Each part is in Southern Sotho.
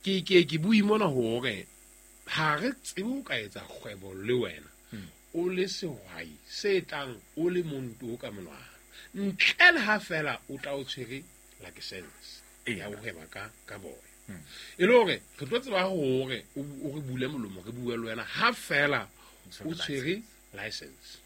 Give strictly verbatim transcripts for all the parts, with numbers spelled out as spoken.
Ke ke ke bue mona hore ha re tsebe ho ka etsa kgwebo le wena o le sehwai se tlang o le monto ka monwana ntle le ha fela o tla o tshwere license ya ho hweba ka ka boya. E le hore re tlo tseba hore o re bule molomo re bue le wena ha fela o tshwere license.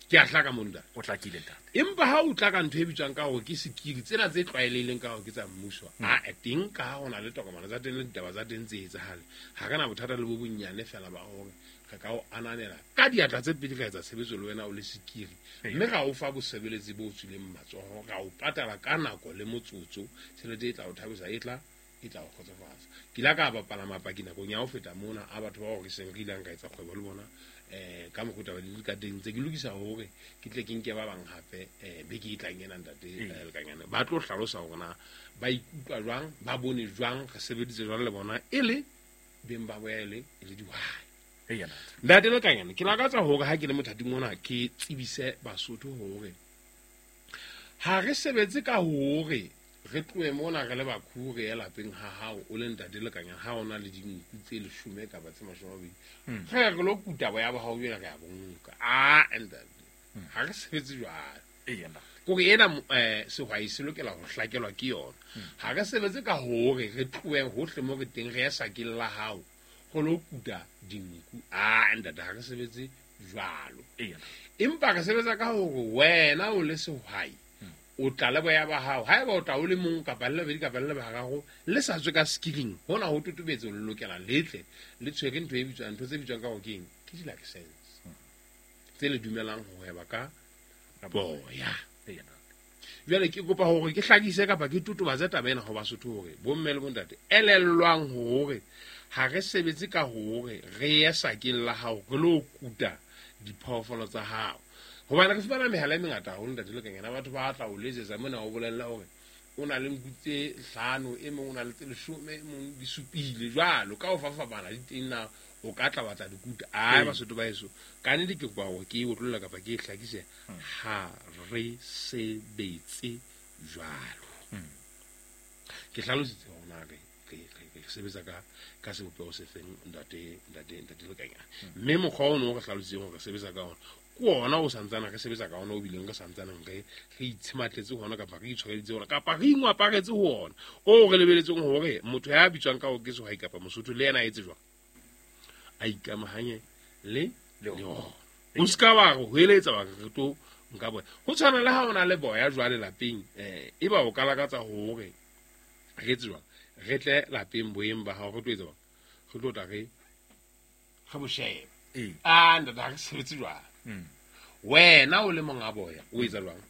Ke a hlaka monna. O hlakile ntate. Empa ha o tla ka ntho e bitswang ka hore ke sekiri tsena tse tlwaelehileng ka hore ke tsa mmuso, a teng ka ha hona le tokomane tsa teng le ditaba tsa teng tse etsahale. Ha re na bothata le bo bonnyane fela ba hore re ka o ananela ka diatla tse pedi ka etsa tshebetso le wena o le sekiri. Mme ra o fa bosebeletsi bo tswileng matsoho, ra o patala ka nako le motsotso, tjhelete e tla o thabisa e tla e tla o kgotsofatsa. Ke la ka bapala mapaki nakong ya ho feta mona a batho ba hore seng re ilang ka etsa kgwebo le bona eh ka mokgwa taba di ka teng tse ke lokisa hore ke tle ke nke ba bang hape eh beke e tlang ena ntate Lekanyane ba tlo hlalosa hore na ba ikutlwa jwang, ba bone jwang, re sebeditse jwang le bona e le beng ba boya e le e le dihwai. Ntate Lekanyane, ke lakatsa hore ha ke le mothating ona ke tsebise Basotho hore ha re sebetse ka hore re tlohe mona re le bakhu re ye lapeng ha hao o le ntate Lekanyane ha ona le dinku tse leshome kapa tse mashome a mabedi re re lo kuta boya ba hao jwale re a bonka. Ah ntate, ha re sebetse jwalo. Kore ena eh sehwai se lokela ho hlakelwa ke yona. Ha re sebetse ka hore re tlohe hohle mo re teng re ye sakeng la hao go lo kuta dinku. Ah ntate, ha re sebetse jwalo. Empa re sebetsa ka hore wena o le sehwai o tla le boya ba hao, haeba o tla o le mong kapa le babedi kapa le bararo le sa tswe ka skiring hona ho totobetse le lokela letle le tshwere ntho e bitswang ntho tse bitswang ka hore ke eng, ke di-license tse le dumelang ho hweba ka boya. Jwale ke kopa hore ke hlakise kapa ke totobatse taba ena ho Basotho hore bomme le bontate elellwang hore ha re sebetse ka hore re ye sakeng la hao re lo kuta diphoofolo tsa hao. Hobane re fumana mehala e mengata haholo ntate Lekanyane, batho ba tla o letsetsa mona o bolella hore o na le nku tse hlano, e mong o na le tse leshome, e mong di supile jwalo ka ho fapafapana di teng na o ka tla batla dikuta. Ai Basotho ba heso, ka nnete ke kopa hore ke e otlolle kapa ke e hlakise, ha re sebetse jwalo. Ke hlalositse hore na re re sebetsa ka ka sebopeho se feng ntate ntate ntate Lekanyane. Mme mokgwa ono o re hlalositseng hore re sebetsa ka ona ke ona o santsana re sebetsa ka ona o bileng re santsaneng re re itshimatletse hona kapa re itshwareditse hona kapa re ingwaparetse ho ona o re lebeletseng hore motho ya bitswang ka hore ke sehwai kapa Mosotho le yena a etse jwang, a ikamahanye le le ona. O ska wa re hoeletsa wa re tlo nka boya. Ho tshwana le ha o na le boya jwale lapeng, eh eba o ka lakatsa hore re etse jwang, re tle lapeng boyeng ba hao re tlo etsa jwang, re tlo tla re re bo shebe. Ah ntate, ha re sebetse jwalo. Wena o le monga boya o etsa jwang,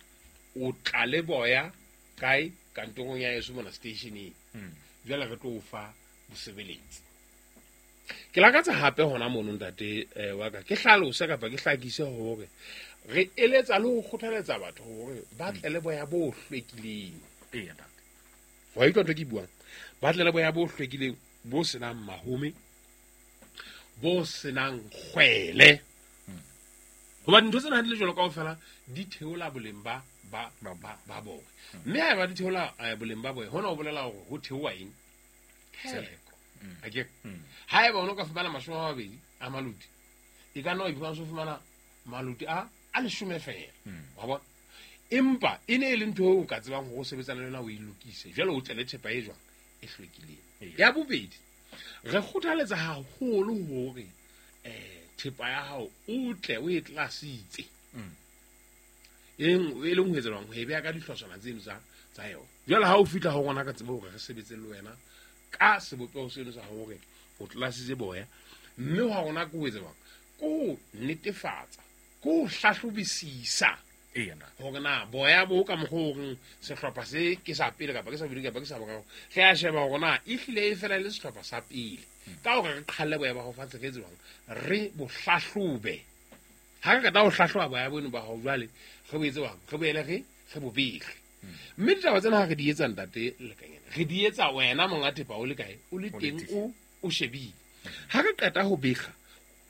o tla le boya kae kantorong ya heso mona stationeng, jwale re tlo o fa bosebeletsi. Ke lakatsa hape hona mono ntate wa ka ke hlalose kapa ke hlakise hore re eletsa le ho kgothaletsa batho hore ba tle le boya bo hlwekileng. Wa utlwa ntho ke buang, ba tle le boya bo hlwekileng bo senang mahome, bo senang kgwele. Hobane ntho tsena ha di le jwalo kaofela di theola boleng ba ba ba ba boya. Mme haeba di theola boleng ba boya, hona ho bolela hore ho theoha eng? Theko. Akere haeba o no ka fumana mashome a mabedi a maluti, e ka nna wa iphumana o fumana maluti a a leshome feela. Wa bona? Empa e ne e le ntho eo o ka tsebang hore o sebetsana le yona o e lokise. Jwale o tle le thepa e jwang? E hlwekileng. Ya bobedi, re kgothaletsa haholo hore eh thepa ya hao o tle o e tlasitse. Eng e leng ho etsa jwang? Ho e beha ka dihlotshwana tseno tsa tsa yona. Jwale ha o fihla ho rona ka tsebo hore re sebetse le wena ka sebopeho seno sa hore o tlasitse boya, mme ha rona ke ho etsa jwang? Ke ho netefatsa, ke ho hlahlobisisa hore na boya bo ka mokgwa o reng sehlopha se ke sa pele kapa ke sa bobedi kapa ke sa boraro, re a sheba hore na ehlile e fela le sehlopha sa pele. Ka hore re qhalle boya ba hao fatshe, re etse jwang? Re bo hlahlobe. Ha re qeta ho hlahloba boya bono ba hao jwale, re bo etse jwang? Re boele re re bo behe. Mme ditaba tsena ha re di etsa ntate Lekanyane, re di etsa wena monga thepa o le kae? O le teng o o shebile. Ha re qeta ho bega,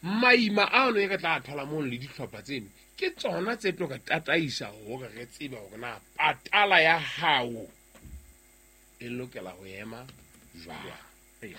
maima ano e re tla thola mono le dihlopha tseno ke tsona tse tlo re tataisa hore re tsebe hore na patala ya hao e lokela ho ema jwang. Eya.